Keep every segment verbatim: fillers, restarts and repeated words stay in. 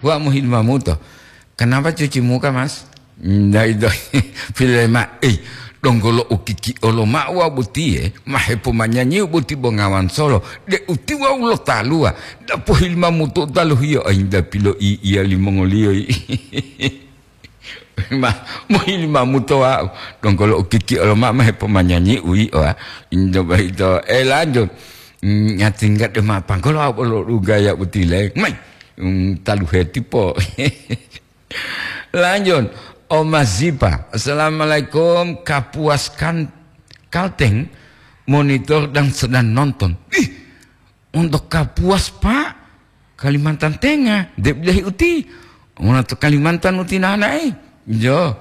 Wa mohilimamuto. Kenapa cuci muka, Mas? Nda ito, filema, eh, donggo lo ukiki olo ma'o wa botiye, ma hepomanyanyiu boti bongawan solo, de utiwau lo taluwa, da pohilimamuto taluhiyo, ainda piloi'iya limongoliyo. Ma, mohilimamuto wa'u, donggo lo ukiki olo ma'o ma hepomanyanyiu yi'o, ah. Indo boyito, eh, lanjut. Mm, nyatingga de ma panggolo wa'u bolo dugaya botile. Mai, mm, taluhe tipo. Lanjut, Oma Zipa. "Assalamualaikum, Kapuas kan-, Kalteng, monitor dan sedang nonton." Ih, untuk Kapuas, Pak? Kalimantan Tengah, de bilahi uti. Mona to Kalimantan uti nanae. Jo.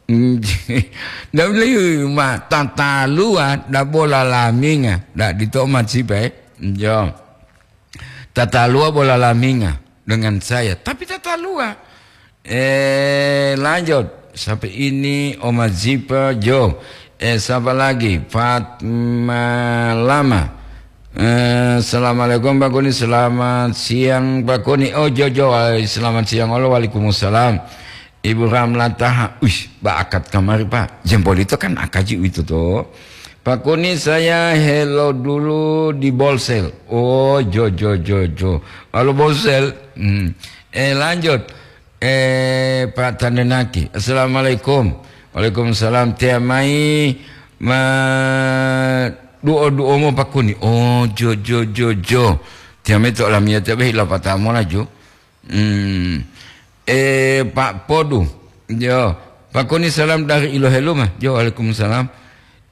Nda bilahi ma tataluwa da bola laminga. Da dito Oma Zipa, eh. Jo. Tataluwa bola laminga dengan saya, tapi tataluwa. Eh, lanjut. Sampai ini Oma Zipa, Jo. Eh, siapa lagi? Fatma Lama. Eh, "Assalamualaikum, Pak Kuni." "Selamat siang, Pak Kuni." Oh, Jo, Jo. Ay, selamat siang. Halo, waalaikumsalam. Ibu Ramla Taha. Uish, baakat kamari, Pak. Jempol itu kan akaji itu, tuh. "Pak Kuni, saya hello dulu di Bolsel." Oh, Jo, Jo, Jo, Jo. Halo, Bolsel. Hmm. Eh, lanjut. Eh, Pak Tandenaki. "Assalamualaikum." "Waalaikumsalam." "Tea mai ma duo-duomo, Pak Kuni." Oh, Jo, Jo, Jo, Jo. "Tea mai to olamiyatiya behi lapatamo laju." Hmm. Eh, Pak Podu. Jo. "Pak Kuni, salam dari Iloheluma." Jo, waalaikumsalam.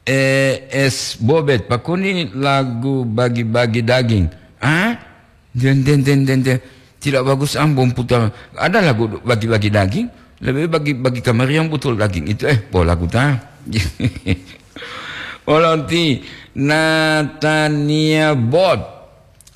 Eh, Es Bobet, "Pak Kuni, lagu bagi-bagi daging." Ah? Den, den, den, den, den. Tidak bagus, ambon putar. Ada lagu bagi-bagi daging? Lebih bagi, bagi kamari yang betul daging itu. Eh, pola kuta. Olonti Natania Bot.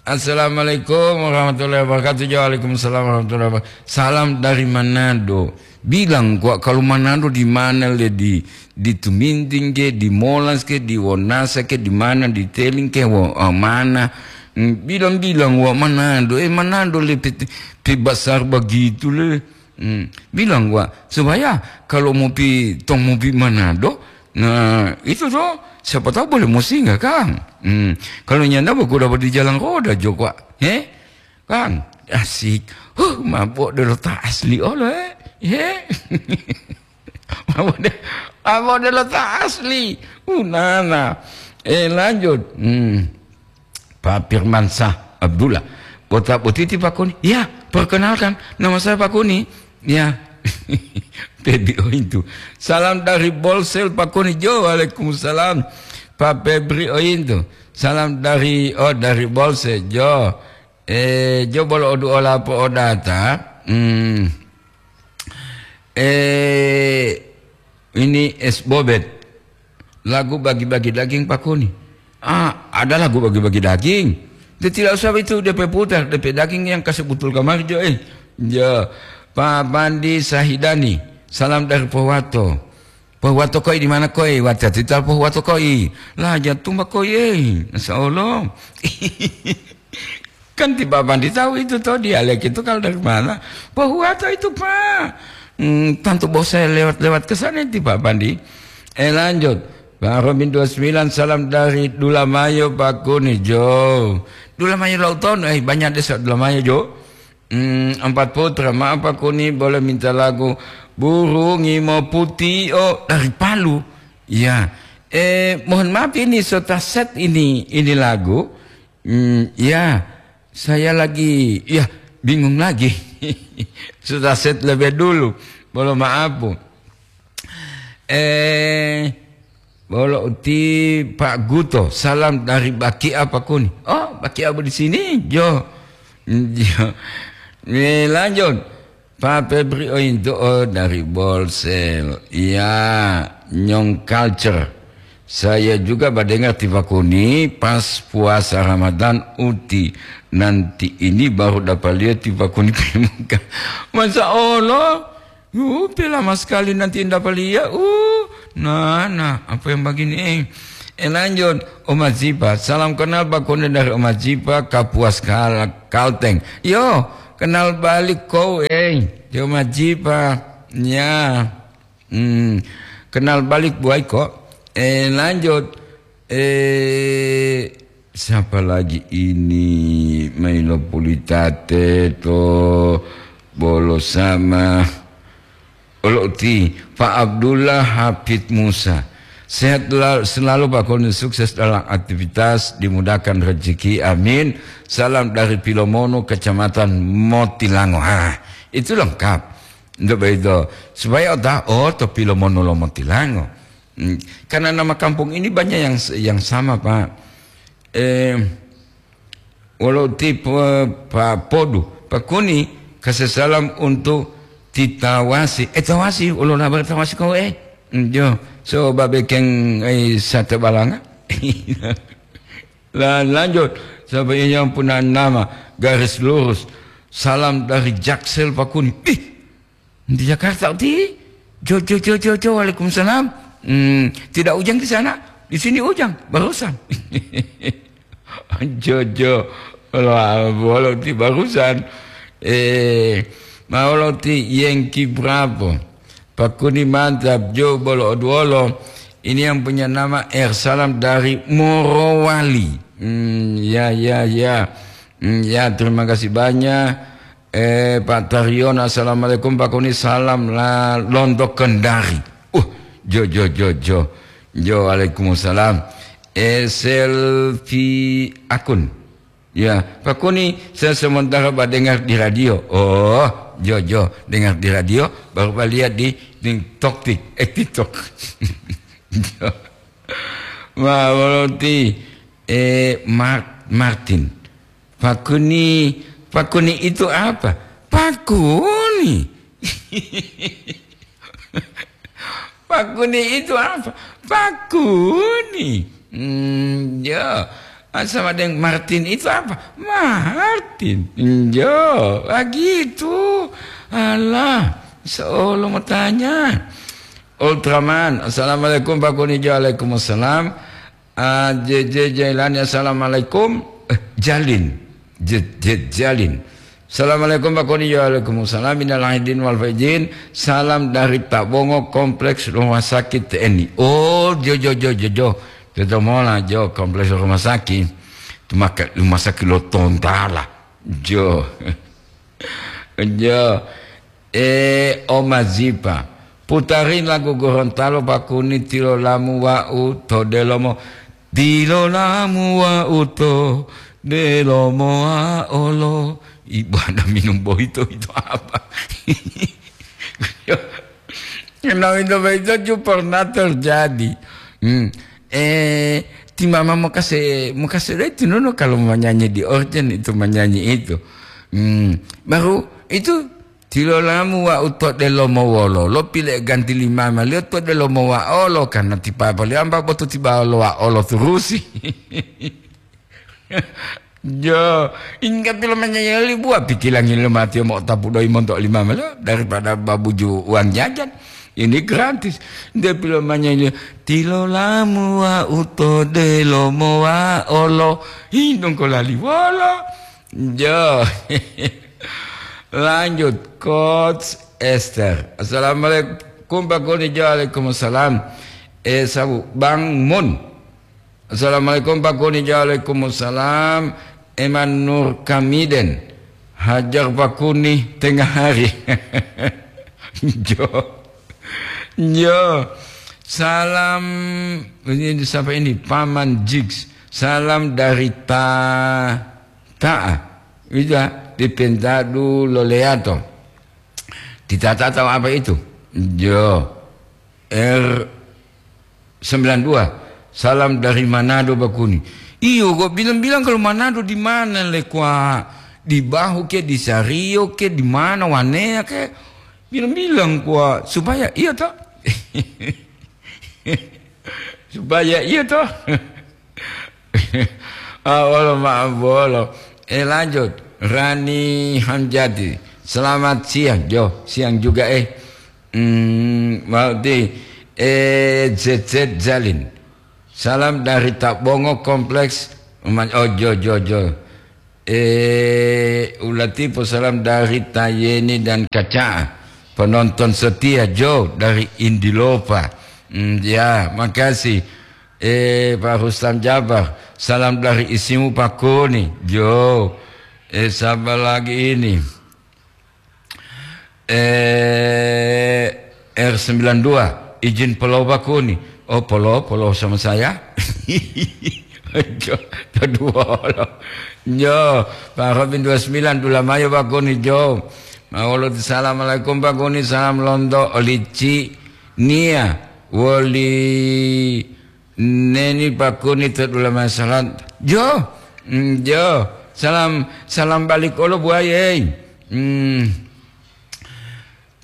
"Assalamualaikum warahmatullahi wabarakatuh." Waalaikumsalam warahmatullahi wabarakatuh. "Salam dari Manado." Bilang kuwa kalau Manado di mana le, di, di Tuminting ke, di Molas ke, di Wonasa ke, di mana, di Teling ke, wo, ah, mana. Hmm, bilang-bilang wa Manado, eh, Manado le pe, pe besar begitu le. Hmm, bilang wa, supaya kalau mau pi, tong mau pi Manado, nah, itu toh, siapa tahu boleh mau singgah, Kang. Hmm, kalau nyanda, aku dapat di jalan roda, Jo, Pak. He? Kang, asik. Huh, mabok delo ta asli olo, eh. He? Mabok de-, mabok delo ta asli. Unana. Eh, lanjut. Hmm. Pak Firman Sah Abdullah. "Bota botiti, Pak Kuni?" "Ya, perkenalkan, nama saya Pak Kuni." Ya. Pebi Ointu. "Salam dari Bolsel, Pak Kuni." Jo, waalaikumsalam. Pak Febri Ointu. "Salam dari, oh, dari Bolsel, Jo." Eh, Jo bolo odu olapo odata. Hmm. Eh, ini Es Bobet. "Lagu bagi-bagi daging, Pak Kuni." Ah, ada lagu bagi-bagi daging. Dia tidak usah itu, D P putar, D P daging yang kasih butul kamar, Jo, eh. Jo, Pak Pandi Sahidani, salam dari Pohuwato. "Pohuwato koi di mana koi?" Watiya tita Pohuwato koi. Lah, jantung ba koi, eh. Masya Allah. Kan ti Pak Pandi tahu itu toh, dialek itu kalau dari mana. Pohuwato itu, Pak. Hmm, tantu bos saya lewat-lewat ke sana ti Pak Pandi. Eh, lanjut. Pak Robin dua sembilan, salam dari Dulamayo, Pak Kuni, Jo. Dulamayo Lauton, eh, banyak desa Dulamayo, Jo. Hmm, Empat Putra, maaf, Pak Kuni, boleh minta lagu Burung Ngimo Putih, oh, dari Palu. Ya. Eh, mohon maaf, ini sota set ini, ini lagu. Hmm, ya, saya lagi, ya, bingung lagi. Sudah set lebih dulu. Mohon maaf, Bu. Eh, bolo uti Pak Guto, salam dari Bakia, Pak Kuni. Oh, Bakia, Bu, di sini, Jo. Jo. Eh, lanjut. Pak Febri Ointo, oh, dari Bolsel. Iya, Nyong Culture. Saya juga badengar ti Pak Kuni pas puasa Ramadan uti. Nanti ini baru dapat lihat ti Pak Kuni pemuka. Masya Allah. Uh, pe lama sekali nanti dapat lihat. Uh, nah, nah, apa yang begini, eh? Eh, lanjut, Oma Zipa. Salam kenal Pak Kuni dari Oma Zipa, Kapuas Kal-, Kalteng. Yo, Kenal balik kau, eh. Dia majipa. Ya. Hmm. Kenal balik buai kok. Eh, lanjut. Eh, siapa lagi ini? Mailo Pulitate to bolo sama. Olo uti, Pak Abdullah Hafid Musa. Sehat la-, selalu, Pak Koni, sukses dalam aktivitas, dimudahkan rezeki, amin. Salam dari Pilomono, Kecamatan Motilango. Ha, itu lengkap. Untuk begitu, supaya otak, oh, to Pilomono lo Motilango. Hmm, karena nama kampung ini banyak yang s-, yang sama, Pak. Eh, Wolo ti po-, pa-, podu, Pak Koni, kasih salam untuk ti Tawasi. Eh, Tawasi, wolo nabar Tawasi kau, eh? Hmm, jo, so babekeng, eh, sate balanga. La-, lanjut, sampai yang punya nama, garis lurus. Salam dari Jaksel, Pak Koni. Ih, di Jakarta, ti? Jo, jo, jo, jo, jo, waalaikumsalam. Hmm, tidak hujan di sana? Di sini hujan, barusan. Jojo, wolo, wolo ti barusan. Eh, ma wolo ti Yengki Bravo. Pak Koni mantap, jo bolo oduolo. Ini yang punya nama R Salam dari Morowali. Hmm, ya, ya, ya. Hmm, ya, terima kasih banyak. Eh, Pak Taryono, assalamualaikum, Pak Koni, salam la lonto Kendari. Uh, jo, jo, jo, jo. Jo, waalaikumsalam. Eh, selfie akun. Ya, Pak Koni, saya sementara Pak dengar di radio. Oh, jo, jo, dengar di radio, baru Pak lihat di, di TikTok, eh, TikTok. Jo. Ma, wolo ti, eh, Mar-, Martin. Pak Koni, Pak Koni itu apa? Pak Koni. Pak Koni itu apa? Pak Koni. Hmm, ya. Sama dengan Martin itu apa? Martin. Ya, begitu. Alah, seolo mau tanya. Ultraman, assalamualaikum Pak Koni. Waalaikumsalam. Ah, J J Jailani, assalamualaikum. Eh, Jalin. J J Jalin. Assalamualaikum, Pak Koni. Waalaikumsalam. Minal aidin wal faizin. Salam dari Tabongo, Kompleks Rumah Sakit T N I. Oh, jo, jo, jo, jo, jo. Teto mola, jo, Kompleks Rumah Sakit. Itu maka Rumah Sakit lo Tontala. Jo. Jo. Eh, Oma Zipa, putarin lagu Gorontalo Pak Koni, Tilolamu Wa'u to Delomo. Tilolamu Wa'u to Delomo Wa'olo. Ibu ada minum bohito itu apa? Nah, itu, itu juga pernah terjadi. Hmm. Eh, ti mama mau kasih, mau kasih itu nono kalau mau nyanyi di organ itu, menyanyi itu. Hmm. Baru itu Tilolamu Wa'u to Delomo Wolo, lo pile ganti lima malio to Delomo Wa'olo, karena ti papa liyo amba botu ti bawolo Wa'olo turusi. Jo, ingga pilo manyayali buwa pikilangi lo matiyo mo'otapu doyi monto lima malio daripada babuju uang jajan. Ini gratis. Nde pilo manyayali, Tilolamu Wa'u to Delomo Wa'olo. Hindong ko lali wolo. Jo. Lanjut, Coach Esther. Assalamualaikum, Pak Koni. Jo, waalaikumsalam. Eh, sabu, Bang Mun. Assalamualaikum, Pak Koni. Jo, waalaikumsalam. Eman Nur Kamiden. Hajar Pak Koni tengah hari. Jo. Jo. Salam, ini siapa ini? Paman Jigs. Salam dari Ta-, Ta'a. Itu, ah, di Pentadu Loleato. Di Ta'a tahu apa itu? Jo. R sembilan dua. Salam dari Manado, Pak Koni. Iyo, kok bilang-bilang kalau Manado di mana, le, kwa? Di Bahu ke, di Sario ke, di mana, Wanea ke? Bilang-bilang, kwa, supaya iya toh. Supaya iya toh. Ah, wolo, maaf, wolo. Eh, lanjut. Rani Hamjati. Selamat siang, Jo. Siang juga, eh. Hmm, mau di, eh, Z Z Jalin. Salam dari Tabongo, Kompleks Rumah, oh, Jo, Jo, Jo. Eh, ulatipo salam dari Tayeni dan Kaca'a. Penonton setia Jo dari Indilopa. Hmm, ya, makasih. Eh, Pak Rustam Jabar, salam dari isimu Pak Kuni. Jo, eh, siapa lagi ini? Eh, R sembilan dua, izin polo Pak Kuni. Oh, polo, polo sama saya. Jo, kedua lo. Jo, Pak Robin dua sembilan, dulamayo Pak Kuni, Jo. Mawolo, assalamualaikum Pak Kuni, salam lonto olici nia woli neni Pak Kuni to dulamayo salam. Jo, mm, jo, salam, salam balik olo buaye. Hmm.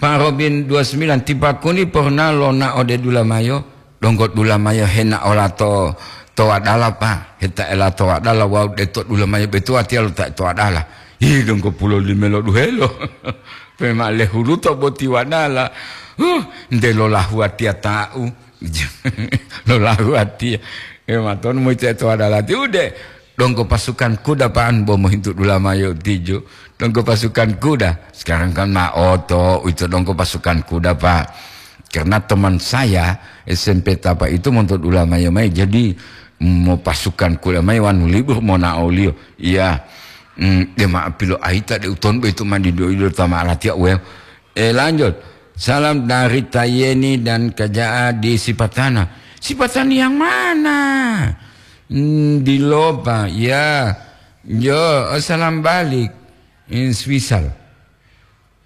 Pak Robin dua sembilan, ti Pak Kuni pernah lonao ode dulamayo, donggo dulamayo henao lato to wadala, Pak. Hetaela to wadala wawu deto dulamayo betuwa tiya lo ta to wadala. Ih, donggo pulo lime lo duhelo. Pema lehuluto boti wadala. Huh, nde lolahu atiya ta'u. Lolahu atiya. E, matonu moyito to wadala ti ude. Donggo pasukan kuda pa'an bo mohintu dulamayo tiju. Donggo pasukan kuda. Sekarang kan ma oto, uwito donggo pasukan kuda, Pak. Karena teman saya S M P Tapa itu monto dulamayo mai. Jadi, mo pasukan kuda mai wanu libur monao oliyo. Iya. Hmm, de ma pilo aita de uton boyito ma dido-ido tama alatiya uweo. Eh, lanjut. Salam dari Tayeni dan Kaja'a di Sipatana. Sipatana yang mana? Hmm, di Lopa, ya. Jo, salam balik. In Swisal.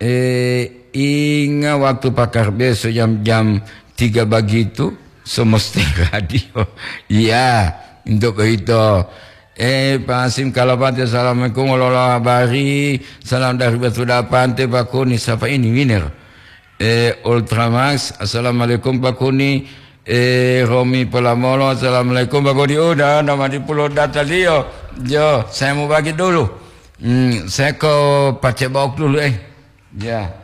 Eh, inga waktu pakar beso jam, jam tiga bagitu, somoste radio. Iya, untuk begitu. Eh, Pak Hasim Kalapati, assalamualaikum, wala habari. Salam dari Batu Dapante, Pak Kuni. Siapa ini, Winner? Eh, Ultramax, assalamualaikum, Pak Kuni. Eh, Romi Polamolo, assalamualaikum, Pak Kuni. Udah, nama di pulau data liyo. Jo, saya mau bagi dulu. Hmm, saya ke Pacebok dulu, eh. Ya.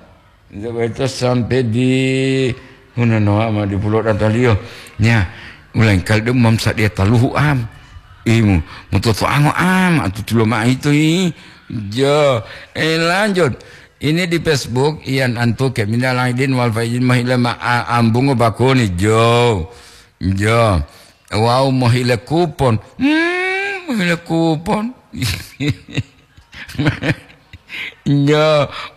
Itu, itu sampai di Hunanoa ma di pulau data liyo. Ya, ulangkali de mam sadia taluhu am. Imu, mutoto ango am, atu tulo ma itu i. Jo, eh, lanjut. Ini di Facebook, Ian Antuke, minal aidin wal faizin, mohile ma-, a-, ambungo Pak Kuni, jo. Jo. Wau mohile kupon. Hmm, mohile kupon. Jo.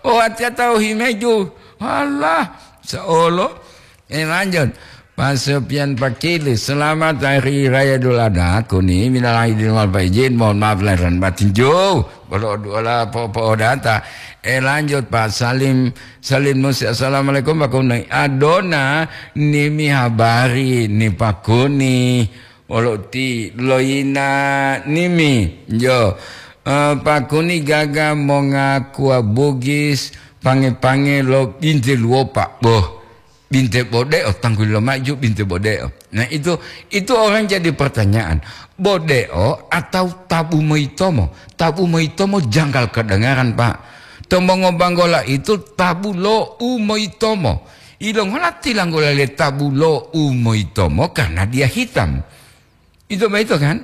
Oh, atiya tawu himeju. Alah, seolo. Eh, lanjut. Pak Sopian Pakili, selamat Hari Raya Idul Adha, Kuni, minal aidin wal faizin, mohon maaf lahir dan batin, jo, bolo duola po-, po'odata. Eh, lanjut, Pak Salim, Salim Nusi, assalamualaikum, Pak Kuni. Adona, nimi habari, ni Pak Kuni, wolo ti loyina nimi, jo. Eh, Pak Kuni gaga mongakuwa Bugis, pange-pange lo binte luwopa. Boh. Binte bode'o, tangguli lomaju binte bode'o. Nah, itu, itu orang jadi pertanyaan. Bode'o atau tabu moyitomo? Tabu moyitomo janggal kedengaran, Pak. To mongobanggola itu tabu lo u moyitomo. Ilongola tilanggula le tabu lo u moyitomo karena dia hitam. Ito boyito kan?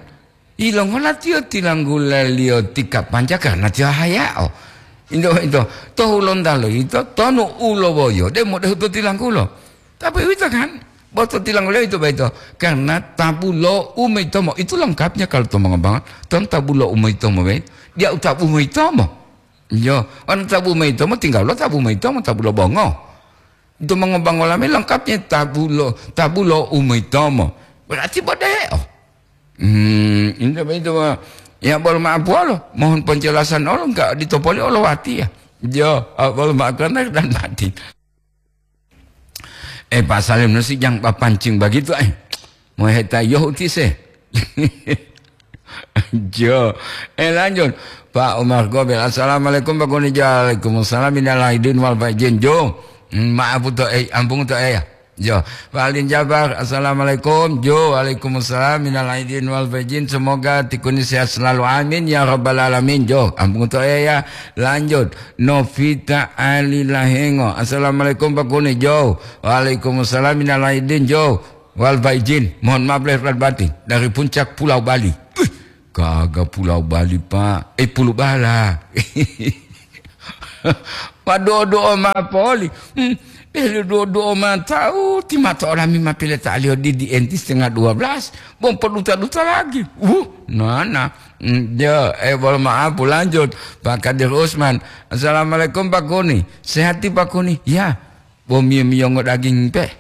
Ilongola tiyo tilanggulaliyo ti kapanca karena tiyo hayao. Ito boyito, to Hulontalo ito, tonu u lowoyo, de modehu to tilanggulo. Tapi uwito kan? Bo to tilanggulo ito boyito, karena tabu lo u moyitomo. Itu lengkapnya kalau to mongombangan. Ton tabu lo u moyitomo boyito. Dia u tabu moyitomo. Yo, on tabu moyitomo, tinggal lo tabu moyitomo, tabu lo bongo. Itu mongobangola me lengkapnya tabu lo, tabu lo u moyitomo. Berarti bode'o. Hmm, itu, itu, ya, bolo ma'apuwalo, mohon penjelasan olo, enggak ditopoli olo watiya. Jo, bolo ma'akuwa lahir dan batin. Eh, Pak Salim, nasi jangan papancing begitu, eh. Moheta yohu tise. Jo. Eh, lanjut. Pak Umar Gobel, "Assalamualaikum, Pak Kuni." "Waalaikumsalam, minal aidin wal faizin." Jo. Hmm, maaf to, eh, ampun to, eh, ya. Jo. Pak Alin Jabar, "Assalamualaikum." Jo, "Waalaikumsalam, minal aidin wal faizin." Semoga Ti Kuni sehat selalu. Amin, ya rabbal alamin. Jo, ampun to, eh, ya. Lanjut. Novita Ali Lahengo, "Assalamualaikum, Pak Kuni." Jo. "Waalaikumsalam, minal aidin." Jo. Wal faizin, mohon maaf lahir dan batin, dari puncak Pulau Bali. Wih, Gaga pulau Bali, Pak. Eh, pulu bala. Maduo-duo ma poli. Hmm, eh, duo-duo ma tau, ti mata olami ma pile ta'aliyo di, di enti setengah dua belas. Bom poduta-duta lagi. Uh, nana. Hmm, ya, eh, bolo maaf, lanjut. Pak Kadir Usman. "Assalamualaikum, Pak Kuni. Sehat ti, Pak Kuni?" "Ya." "Bo miyo-miyongo daging pe?"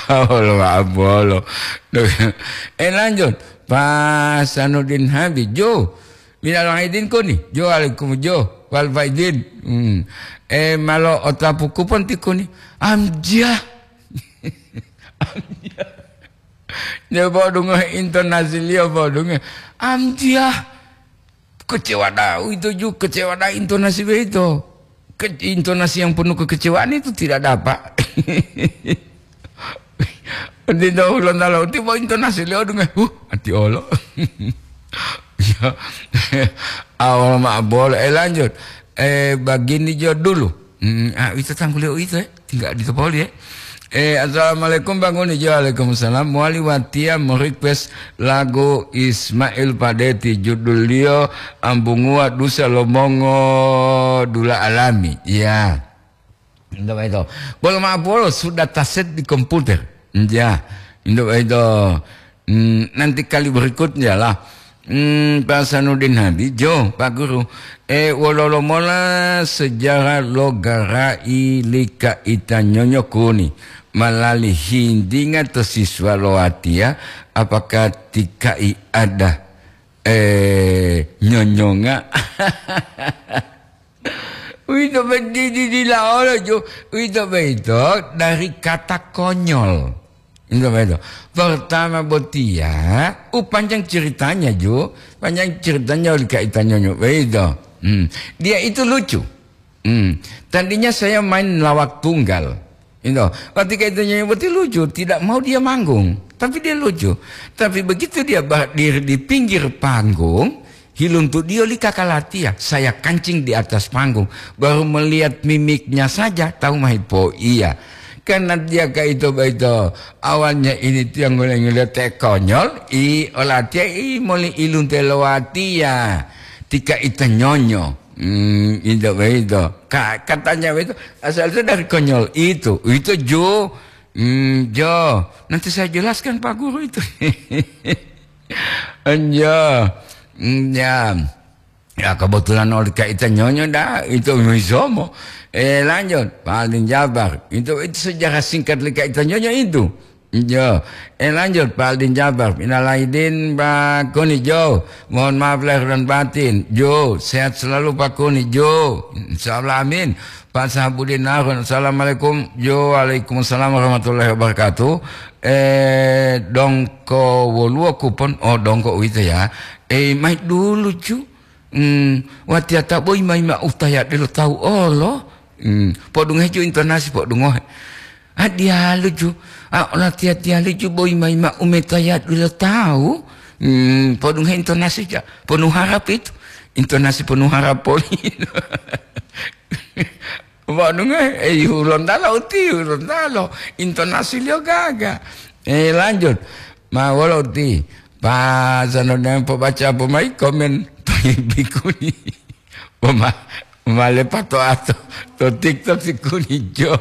Bolo maaf, bolo. Eh, lanjut. Pak Sanudin Habib, Jo. Minal aidin kuni. Jo alaikum, Jo. Wal faidin. Hmm. Eh, malo otapu kupon ti kuni. Amjah. Amjah. Dia podungohe intonasiliyo, podungohe. Amjah. Kecewa dah, itu juga kecewa dah intonasi begitu. Ke-, intonasi yang penuh kekecewaan itu tidak dapat. Di dalam lalu tiba intonasi leo dengan, "Huh, ati olo." Ya. Awal mak boleh. Eh, lanjut. Eh, begini jo dulu. Hmm, ah, itu tangguliyo itu, eh. Tinggal di topoli, eh. Eh, assalamualaikum, Bang Uni. Waalaikumsalam. Mowali watiya mo-request lagu Ismail Padeti, judulliyo Ambunguwa Dusa lo Mongo Dula Alami. Ya. Untuk itu. Bolo maaf, bolo sudah taset di komputer. Ya. Untuk itu. Hmm, nanti kali berikutnya lah. Hmm, Pak Sanudin Hadi, Jo, Pak Guru, eh, wololo mola sejarah lo gara'i li Kaita Nyonyo Kuni, malali hintinga to siswa lo watiya, apakah ti ka'i ada, eh, nyonyonga? Uwito benti didila olo, Jo. Uwito boyito dari kata konyol. Uwito boyito. Pertama botiya, u panjang ceritanya, Jo. Panjang ceritanya oli Kaita Nyonyo. Boyito. Hmm. Dia itu lucu. Hmm. Tadinya saya main lawak tunggal. Itu. Waktu Kaita Nyonyo boti lucu, tidak mau dia manggung. Tapi dia lucu. Tapi begitu dia berdiri di pinggir panggung, hiluntudiyo li kakalatiya, saya kancing di atas panggung, baru melihat mimiknya saja tahu mahipo iya. Karena dia kaito baito, awalnya ini tiang ngule-ngule te konyol, i olatiya i moli ilunte lowatiya. Tika ita nyonyo. Hmm, itu begitu. Ka-, katanya begitu, asal itu dari konyol itu. Itu Jo. Hmm, Jo. Nanti saya jelaskan Pak Guru itu. Iya. Mm, ya. Ya, kebetulan oli Kaita Nyonyo dah, itu misomo. Eh, lanjut, Pak Aldin Jabar. Itu, itu sejarah singkat li Kaita Nyonyo itu. Iya. Eh, lanjut, Pak Aldin Jabar. Minal aidin, Pak Kuni, Jo. Mohon maaf lahir dan batin. Jo, sehat selalu, Pak Kuni, Jo. Insya Allah, amin. Pak Sahabudin Harun, assalamualaikum. Jo, waalaikumsalam warahmatullahi wabarakatuh. Eh, dongko woluwo kupon? Oh, dongko uwito ya. Eh, mai dulu, Ju. Hmm, watiya ta boyi mai ma utaya delo tawu olo. Hmm, podungohe, Ju, intonasi podungohe. A diyalu, Ju. A, olatiya-tiyali, Ju, boyi mai ma umetaya delo tawu. Hmm, podungohe intonasi, ja. Penuh harap itu. Intonasi penuh harap poli. Wonu nge, eh, hulontalo uti, hulontalo. Intonasiliyo gaga. Eh, lanjut. Ma wolo uti. Pasano demo pobaca pomai komen to bikuni. Poma-, male pato ato to TikTok si kuni jo.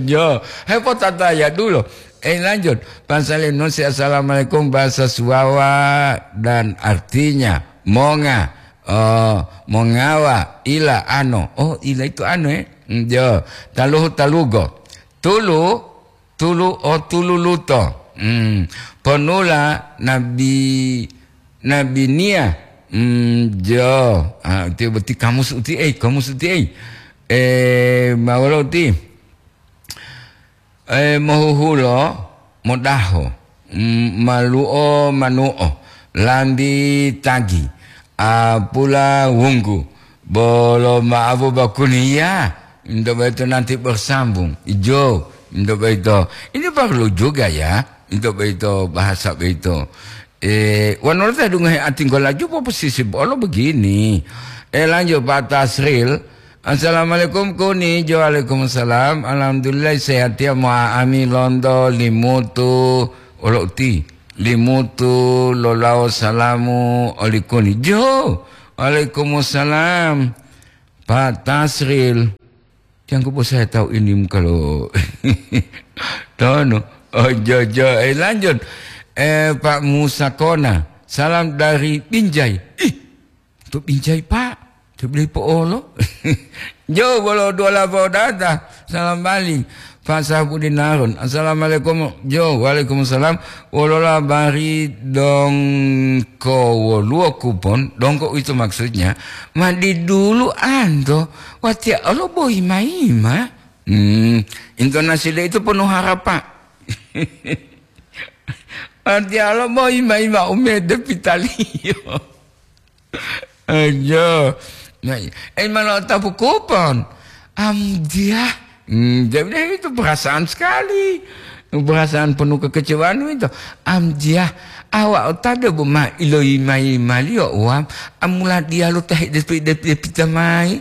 Jo. Hei, potataya dulu. Eh, lanjut. Pasale nusi assalamualaikum bahasa Suwawa dan artinya monga. Oh, mongawa, ila, ano. Oh, ila itu ano, eh. Mm, jo. Taluhu, talugo. Tulu, tulu, oh, tulu luto. Mm. Ponula, nabi, nabi nia. Mm, jo. Ah, itu berarti kamus uti, eh, kamus uti, eh. Eh, mawolo uti. Eh, mohuhulo, modaho, mm, malu'o, manu'o, lambi, tagi, apula, wunggu, bolo ma'abu bakuniya, into boyito nanti bersambung, ijo, into boyito. Ini perlu juga ya, into boyito, bahasa boyito. Eh, wonu lo ta dungohe atinggo laju poposisi bolo begini. Eh, lanjut, Pak Tasril. Assalamualaikum, Kuni. Jo, waalaikumsalam. Alhamdulillah, sehat ya, mo'a'ami lonto, limutu, olo uti. Limutu lolawo salamu olikuni. Jo, waalaikumsalam. Pak Tasril. Jangko bosaya tahu ini muka lo. Tono. Oh, jo, jo. Eh, lanjut. Eh, Pak Musa Kona. Salam dari Binjai. Ih, to Binjai, Pak. To beli po'olo. Jo, bolo dua labo data. Salam balik. Pak Sahbudin Harun. Assalamualaikum. Jo, waalaikumsalam. Wolo labari dongko woluwo kupon? Dongko itu maksudnya. Madi dulu anto. Watia olo boyi maima. Hmm, intonasi de itu penuh harapan. Watia olo boyi maima umede pitaliyo. Ayo. Nah, eh, mana tapu kupon? Am, dia. Hmm, jadi itu perasaan sekali. Perasaan penuh kekecewaan itu. Am, dia. Awak tadi bu ma iloi mai malio uam. Amula dia lo teh depi, depi, depi tamai.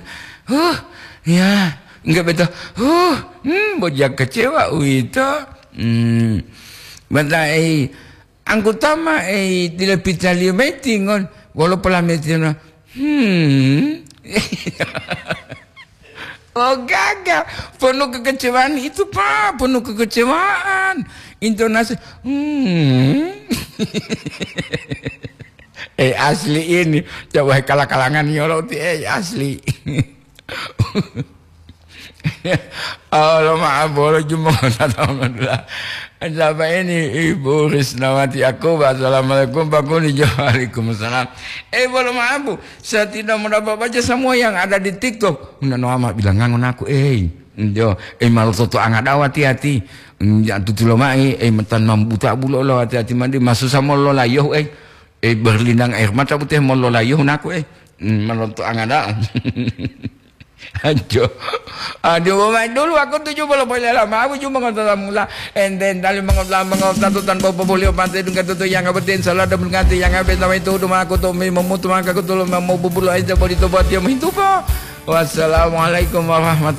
Huh, ya. Enggak betul. Huh, hmm, bojang kecewa uito. Hmm. Bata, eh, anggota ma, eh, dila pitaliyo mayi tingon, wolo polametiyo na, "Hmm." Oh, gaga. Penuh kekecewaan itu, Pak. Penuh kekecewaan. Intonasi, "Hmm." Eh, asli ini. Coba kala-kalangan nyoloti, eh, asli. Oh, lo maaf, bolo jumbo tata menula. Siapa ini? Ibu Risnawati Yakoba. Assalamualaikum, Pak Kuni. Waalaikumsalam. Eh, bolo maaf, Bu. Saya tidak mendapat baca semua yang ada di TikTok. Unda no ama bilang ngangon aku, eh. Jo, eh, malu toto angadawa hati-hati. Ya, tutulo mai, eh, metan mambuta bulo lo hati-hati mandi. Masusa molo layoh, eh. Eh, berlinang air mata putih molo layoh naku, eh. Hmm, malu toto angada. Ajo. Aduh, main dulu aku tujuh puluh poin lama, aku cuma ngotot mula. Enten tali mengotla mengotla tu tanpa populio pantai dungka tutu yang abet insya Allah ada mengati yang abet nama itu udah aku tu mi memutu maka aku tu mau bubulu aja bodi tu buat dia menghidup. Wassalamualaikum warahmatullahi